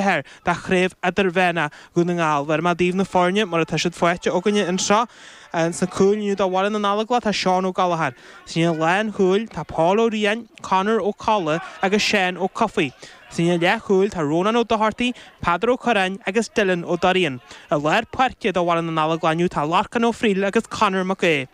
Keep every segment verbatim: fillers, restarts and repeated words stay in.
ceathair de Chraobh Idirmheánach Dhún na nGall. Bhéarfaidh mé daoibh na foirne mar atá siad faighte againne anseo. Sna cúil inniu do Bhaile na nGallóglach tá Seán Ó Gallchóir. Sa líne lánchúil tá Paul Ó Riain, Conor Ó Colla agus Seán Ó Cofaigh. Sa líne leathchúil tá Rónán Ó Dochartaigh, Peadar Ó Curráin agus Dylan Ó Dorrian. I lár páirce do Bhaile na nGallóglach inniu tá Lorcán Ó Frighil agus Conor Mac Aodha.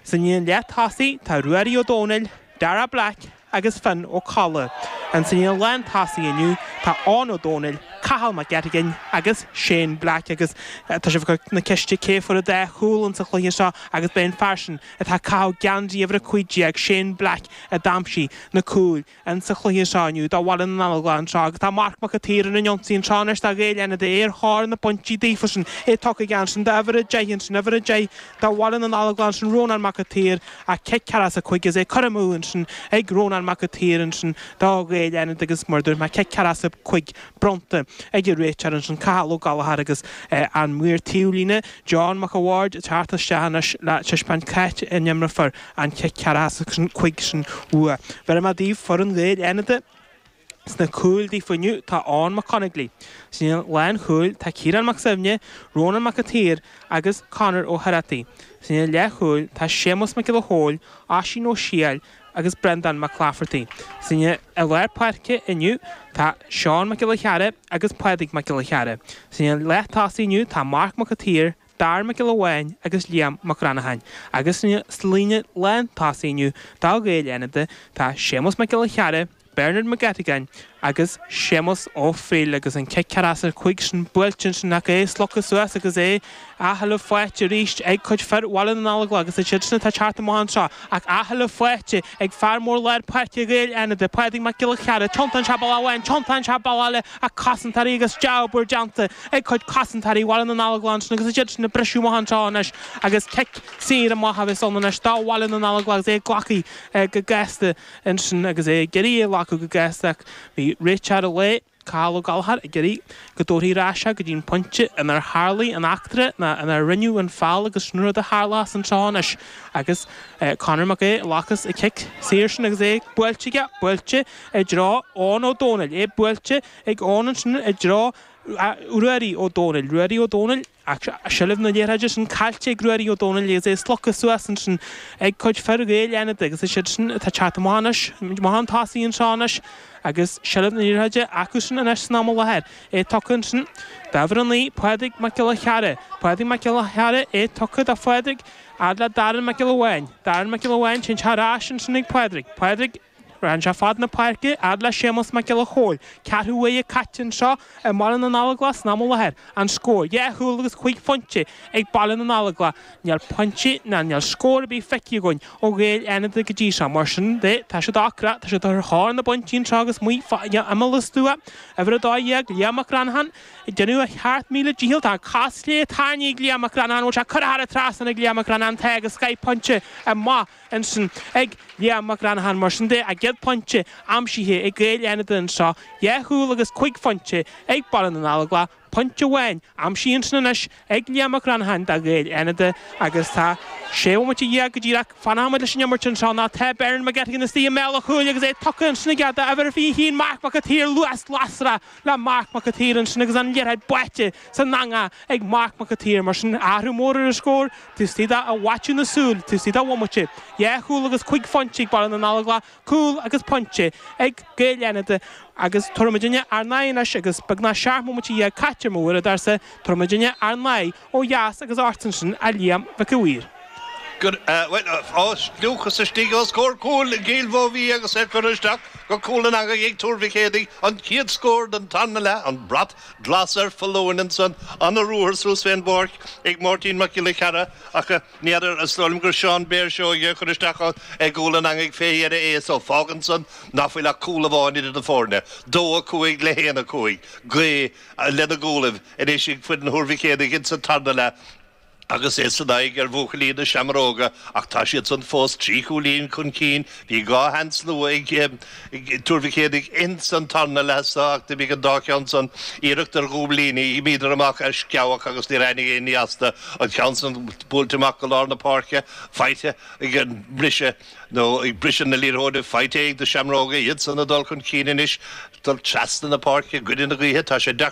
Sa líne leath-tosaigh tá Ruairí Ó Dónaill, Dara Black agus Finn Ó Colla. Sa líne lántosaí inniu tá Eoin Ó Dónaill, Cathal Mac Eatagain agus Shane Black agus tá sibh ag cur na ceiste cé fuair an dá chúl insa chluiche seo agus b'é an fear sin atá ag caitheamh geansaí uimhir a cúig déag, Shane Black, a d'aimsigh na cúil insa chluiche seo inniu do Bhaile na nGallóglach anseo agus tá Marc Mac an tSaoir ar an ionsaí anseo anois do Ghaeil Fhánada, é ar thóir na bpointí daofa sin, é tugtha aige ansin d'uimhir a deich ansin, uimhir a deich do Bhaile na nGallóglach ansin, Rónán Mac an tSaoir ach cic ceathracha is a cúig agus é curtha amú ansin ag Rónán Mac an tSaoir ansin do Ghaeil Fhánada agus mar a dúirt mé cic ceathracha is a cúig bronnta ag an réiteoir ansin Cathal Ó Gallchóir agus an maor taobhlíne John Mac a' Bhaird ag teacht isteach anois le taispeáint c'áit a n-imreofar an cic ceathracha is a cúig sin uaidh. Bhéarfaidh mé daoibh foireann Ghaeil Fhánada. Sna cúil daofa inniu tá Eoin Mac Conaglaigh. Sa líne lánchúil tá Ciarán Mac Suibhne, Rónán Mac an tSaoir agus Conor Ó hOireachtaigh. Sa líne leathchúil tá Séamus Mac Giolla Chóill, Oisín Ó Siáil agus Breandán Mac Laifeartaigh. Sa líne i lár páirce inniu tá Seán Mac Giolla Chearra agus Pádraig Mac Giolla Chearra. Sa líne leath-tosaigh inniu tá Marc Mac an tSaoir, Darragh Mac Giolla Bháin agus Liam Mac Granacháin. Agus sa líne lántosaigh inniu do Ghaeil Fhánada tá Séamus Mac Giolla Chearra, Bernard Mac Eatagain agus Séamus Ó Frighil agus an cic ceathracha is a cúig sin buailte ansin ach é slogtha suas agus é athsheilbh faighte arís ag cuid fir Bhaile na nGallóglach agus iad sin atá ag teacht amach anseo ach athsheilbh faighte ag fear mór lár páirce Ghaeil Fhánada, Pádraig Mac Giolla Chearra, tiontaíonn sé bealach amháin, tiontaíonn sé bealach eile ach cosantóirí agus dea-obair déanta ag cuid cosantóirí Bhaile na nGallóglach ansin agus iad sin ag briseadh amach anseo anois agus cic saor amach a bheas ann anois do Bhaile na nGallóglach agus é glactha go gasta ansin agus é ag iarraidh é a ghlacadh go gasta ach bhí réiteoir an lae, Cathal Ó Gallchóir, ag iarraidh go dtabharfaí ar ais é go dtí an pointe inar tharlaigh an eachtra ná inar rinneadh an feall agus sin rud a tharlós anseo anois agus Conor Mac Aodha a ghlacas an cic saor sin agus é buailte aige, buailte i dtreo Eoin Ó Dónaill, é buailte ag Eoin ansin i dtreo Ruairí Ó Dónaill, Ruairí Ó Dónaill, ach seilbh na liathróide sin caillte ag Ruairí Ó Dónaill agus é slogtha suas ansin ag cuid fir Ghaeil Fhánada agus is iad sin atá ag teacht amach anois, amach chun tosaigh anseo anois agus seilbh na liathróide acu sin anois san am i láthair. É tugtha ansin d'uimhir a naoi, Pádraig Mac Giolla Chearra. Pádraig Mac Giolla Chearra, é tugtha do Phádraig, fhad le Darren Mac Giolla Bháin. Darren Mac Giolla Bháin, téann sé ar ais ansin ag Pádraig. Pádraig. Ritheann sé fad na páirce, fhad le Séamus Mac Giolla Chóill. Ceathrú uaire caite anseo i mBaile na nGallóglach san am i láthair. An scór, dhá chúl agus cúig phointe ag Baile na nGallóglach. Níl pointe ná níl scór ar bith feicthe againn ó Ghaeil Fhánada go dtí seo. Mar sin de, tá siad ocrach, tá siad ar thóir na bpointí anseo agus amuigh fá imeall an stua. Uimhir a dó dhéag, Liam Mac Granacháin, ag déanamh a sheacht míle dícheall. Tá an cos chlé tarraingthe ag Liam Mac Granacháin. Bhfuil sé curtha thar an trasnán ag Liam Mac Granacháin. Tá agus scaith pointe amach ansin ag Liam Mac Granacháin. Mar sin de, a gcéad phointe aimsithe ag Gaeil Fhánada anseo, dhá chúl agus cúig phointe ag Baile na nGallóglach, pointe amháin aimsithe ansin anois ag Liam Mac Granacháin do Ghaeil Fhánada agus tá sé bhomaite dhéag go díreach. Fanfaimid leis an imirt anseo ná tá Bernard McGettigan istigh i mbéal an chúil agus é tugtha ansin aige d'uimhir a fiche haon Marc Mac an tSaoir, luas lasrach le Marc Mac an tSaoir ansin agus an liathróid báite san eangach ag Marc Mac an tSaoir. Mar sin, athrú mór ar an scór, taobh istigh de fhaiteadh na súl, taobh istigh de bhomaite. Dhá chúl agus cúig phointe ag Baile na nGallóglach, cúl agus pointe ag Gaeil Fhánada agus tabharfaidh muidinne ár n-aghaidh anois agus beagnach seacht mbomaite dhéag caite ar mo uaireadóirse, tabharfaidh muidinne ár n-aghaidh ó dheas agus ort ansin a Liam Mhic a' Mhaoir. Gur, bhuel, á stiúchas istigh os comhair cúil i gCill Mhóibhí agus é curtha isteach go cúl an eangaigh ag Tuar Mhic Éadaigh, an chéad scór den tarna leath, an brat glas ar foluain ansan, ana-ruathar suas fén bpáirc ag Máirtín Mac Giolla Chearra ach ní fheadar, is dóigh liom gur Seán Béar Seoige a chuir isteach i gcúl an eangaigh fé dheireadh é so fágann san ná fuil ach cúl amháin idir na foirne, dó a cúig le haon a cúig, gaoth lena gcúlaibh anois ag foireann Thuar Mhic Éadaigh insa tarna leath. Agus é san aghaidh ar bhuachaillí na Seamróga ach tá siad san fós trí chúilín chun cinn. Bhí dhá sheans luath ag Tuar Mhic Éadaigh ins an tarna leath so ach d'imigh an dá cheann san iarracht ar dhúiblíní. D'imíodar amach ar sceabhach agus níor tháinig aon ní astu. An ceann san buailte amach go lár na páirce, faighte ag an mbriseadh nó ag briseadh na liathróide, faighte ag na Seamróga, iad san ag dul chun cinn anois, dul trasna na páirce i gcoinne na gaoithe. Tá sé deacair.